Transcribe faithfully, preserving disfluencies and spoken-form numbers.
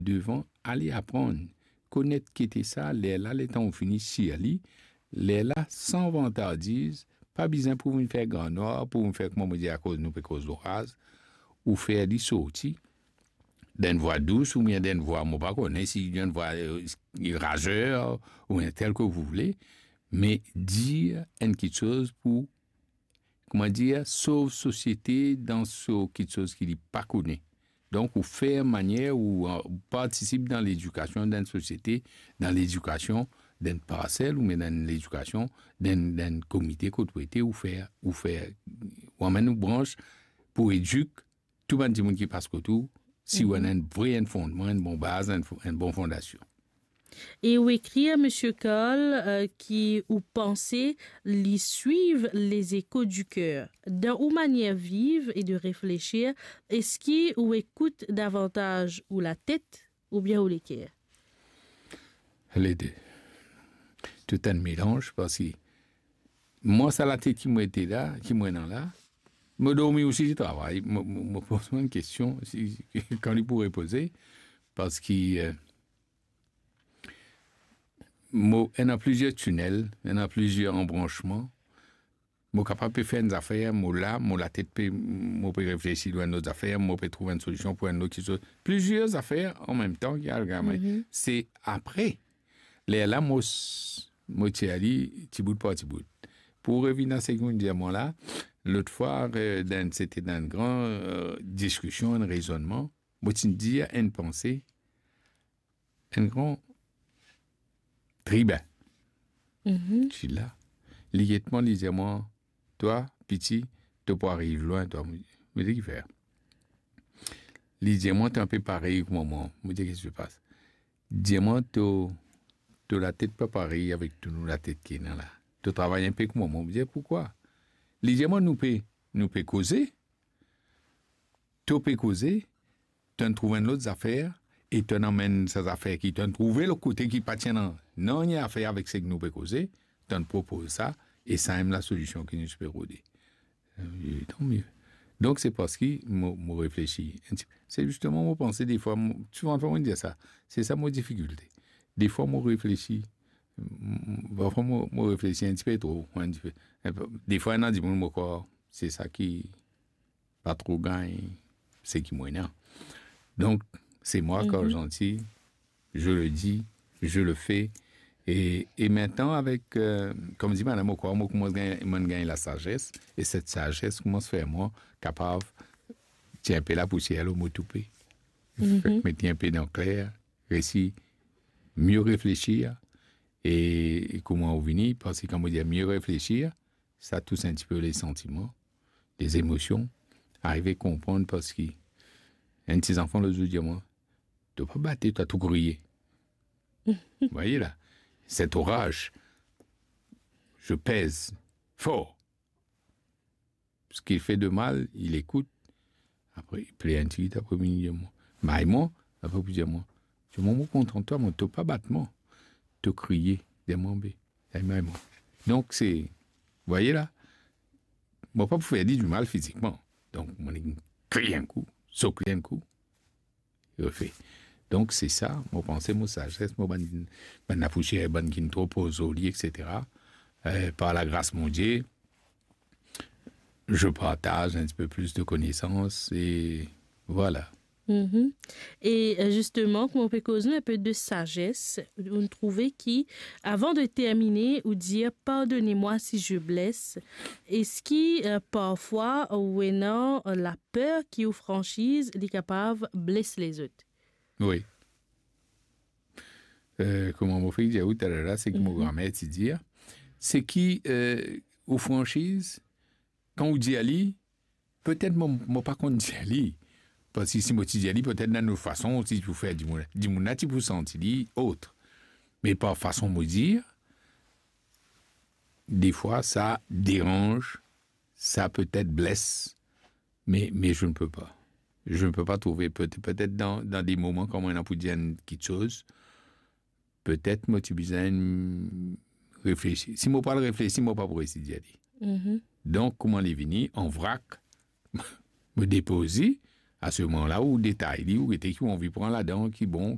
devan, ale aprann, konet ki ete sa, lerla, letan ou fini sir li, lerla, san vantardiz, pa bizin pou vinn fer gran nwar, pou vinn fer, kouma mo dir, akoz nou pe koz loraz, ou fer li sorti dan enn vwa dous oubien dan enn vwa, mo pa kone si dan enn vwa, euh, razer, oubien tel que vous voulez, me dir enn kiksoz pou, kouma dir, sov sosiete dan so kiksoz ki li pa kone. Donk, ou fer manier ou, euh, ou partisip dan ledikasion dan enn sosiete, dan ledikasion dan enn parsel oubien dan ledikasion dan enn, dan enn komite kot ou ete, ou fer, ou fer, ou amenn ou brans pou edik tou bann dimoun ki pas kot ou, si ou ena enn vre, enn fondman, enn bon baz, enn fo-, enn bon fondasion. E ou ekrir, Misie Karl, euh, ki ou panse li swiv les échos du cœur. Dan ou manier viv e de reflesir, eski ou ekout davantaz ou latet oubien ou leker? Lede. Tou enn melanz, parski mwa, sa latet ki mo ete la, ki mo ena la, mo dormi osi, travay. Mo, mo, mo poz mwa enn kestion, si, kan li pou repoze, parski, euh, mo ena plizier tinel, ena plizier anbransman. Mo kapav pe fer enn zafer, mo la, mo latet pe, mo pe reflesi lor enn lot zafer, mo pe trouv enn solision pou enn lot kiksoz. Plizier zafer anmemtan ki al gagn. Se apre, lerla mo s-, mo tir li tibout par tibout. Pou revinn a seki ou dir mwa la, lot fwa, euh, dan, sete dan enn gran, euh, diskision, enn rezonnman, mo ti dir enn panse, enn gran tribin. Ti la. Li get mwa, li dir mwa, "Twa, piti, to pou ariv lwin, twa." Mo dir, "Kifer?" Li dir mwa, "To inpe parey kouma mwa." Mo dir, "Kisa ki pas?" Dir mwa, "To, to latet pa parey avek tou nou latet ki ena la. To travay inpe kouma mwa." Mo dir, "Poukwa?" Li dir mwa, "Nou pe, nou pe koze, to pe koze, to'nn trouv enn lot zafer, e to'nn amenn sa zafer ki to'nn trouve lot kote ki pa ti ena nanye afer avek seki nou pe koze, to'nn propoz sa, e samem lasolision ki nou ti pe rode." Euh, tant mieux. Donk, se parski mo, mo reflesi enn tipe. Se zisteman, mo panse defwa, mo, souvan fwa mo dir sa, se sa mo difikilte. Defwa, mo reflesi, m-, m-, parfwa mo, mo reflesi enn tipe tro, enn tipe. Defwa, ena dimoun, mo krwar, se sa ki pa tro gagn seki mo ena. Donk, se mwa, kan zanti, je le dis, je le fais. E, e mintnan avek, euh, kouma dir madam, mo krwar mo koumans gagn, mo'nn gagn lasazes, e set sazes koumans fer mwa kapav tir inpe lapousier lor mo toupe. Fek met li inpe dan kler, resi mie reflesir, e, e kouma ou vini, parski kan mo dir mie reflesir, sa tous enn tipe le santiman, les émotions, arive konprann, parski enn ti zanfan lot zour dir mwa, "To pa bate, to tou kriye." Vous voyez là, cette rage, je pèse fort. Ce qu'il fait de mal, il écoute. Apre, li pler enn tigit, apre li vinn dir mwa, may mwa, apre pou dir mwa, "Ti mwa, mo kontan twa, mo, to pa bat mwa, to kriye, dir mwa be, ay may mwa." Donk, se, vous voyez là, mo pa pou fer li dimal fizikman. Donk, mo kriye enn kou, sok li enn kou, refe. Donk, se sa, mo panse, mo sazes, mo bann, bann lapousier, bann ki'nn tro poz lor li, et cetera. Euh, par la gras Bondie, je partage un petit peu plus de connaissances et voilà. Mhm. E, euh, zisteman, kouma ou pe koz nou inpe de sazes, ou trouve ki, avan de termine, ou dir, "Pardonnez-moi si je blesse." Eski, euh, parfwa, ou ena, euh, laper ki ou fransiz, li kapav bles lezot? Wi. Euh, kouma mo fek dir ou taler la, seki mo gramer ti dir, seki, euh, ou fransiz, kan ou dir li, petet mo, mo pa konn dir li. Parski si mo ti dir li, petet dan lot fason, ti pou fer dimoun, dimoun la ti pou santi li ot. Me par fason mo dir, defwa, sa deranz, sa petet bles, me, me je ne peux pas. Je ne peux pas trouver, peut-, peut-être dans, dans des moments quand on a pour dire quelque chose, petet mo ti bizin reflesi. Si mo pa reflesi, mo pa pou resi dir li. Mhm. Donk, kouma li vini, an vrak, mo depoz li, A se moman la ou detay li, ou gete ki ou anvi pran ladan, ki bon,